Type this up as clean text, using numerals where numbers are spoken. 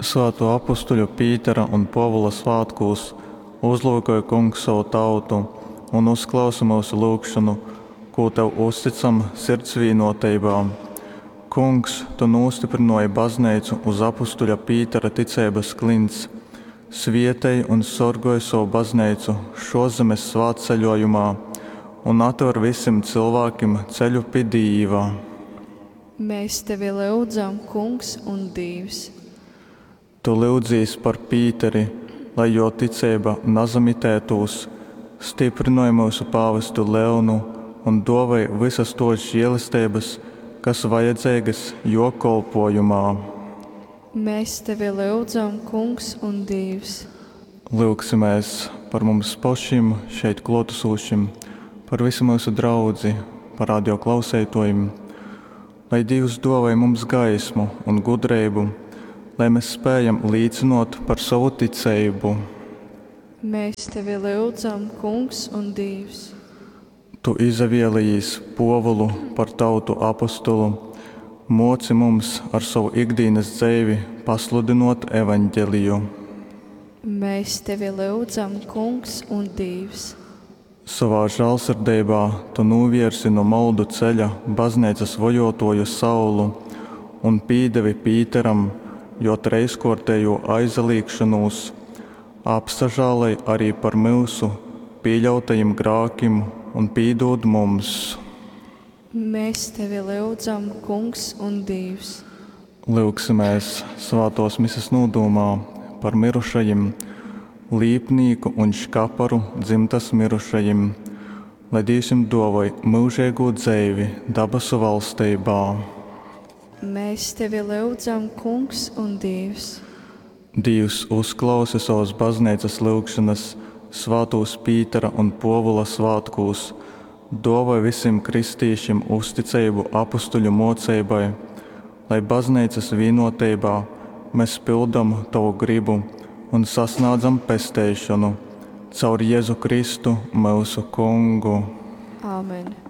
Svātō apustuļu Pītera un Pōvula svātkūs uzlyukoj, Kungs, sovu tautu un uzklausi myusu lyugšonu, kū tev uztycam sirds vīnōteibā. Kungs, tu nūstyprynōji bazneicu uz apustuļa Pītera ticeibas klints, svietej un sorgoj sovu bazneicu šōszemes svātceļōjumā un atver visim cylvākim ceļu pi Dīva. Mēs tevi lyudzam, Kungs un Dīvs. Tu lyudzīs par Pīteri, lai jō ticeiba nasamitētūs, styprynoj myusu pāvestu Leonu un dōvōj vysas tōs želesteibas, kas vajadzeigas jō kolpōjumā. Mēs tevi lyudzam, Kungs un Dīvs. Lyugsimēs par mums pošim, šeit klōtasūšim, par visu myusu draudzi, par radio klauseitōjim. Lai Dīvs dōvoj mums gaismu un gudreibu, lai mes spējam līcynōt par sovu ticeibu. Mēs tevi lyudzam, Kungs un Dīvs. Tu izavielejīs Pōvulu par tautu apostolu, mōci mums ar sovu ikdīnas dzeivi pasludynōt Evaņgeliju. Mēs tevi lyudzam, Kungs un Dīvs. Sovā žālsirdeibā tu nūvierzi nu moldu ceļa bazneicas vojōtōju Saulu un pīdevi Pīteram jō trejskōrtejū aizalīgšonūs. Apsažāloj ari par myusu pīļautajim grākim un pīdūd mums. Mēs tevi lyudzam, Kungs un Dīvs. Lyugsimēs svātōs mises nūdūmā par myrušajim, Līpnīku un Škaparu dzymtas myrušajim, lai Dīvs jim dōvoj myužeigū dzeivi dabasu valsteibā. Mēs tevi lyudzam, Kungs un Dīvs. Dīvs, uzklausi sovas bazneicas lyugšonas svātūs Pītera un Pōvula svātkūs, dōvoj visim kristīšim uzticeibu apustuļu mōceibai, lai bazneicas vīnōteibā mes pyldom tovu grybu un sasnādzam pesteišonu. Caur Jezu Kristu, myusu Kungu. Āmen.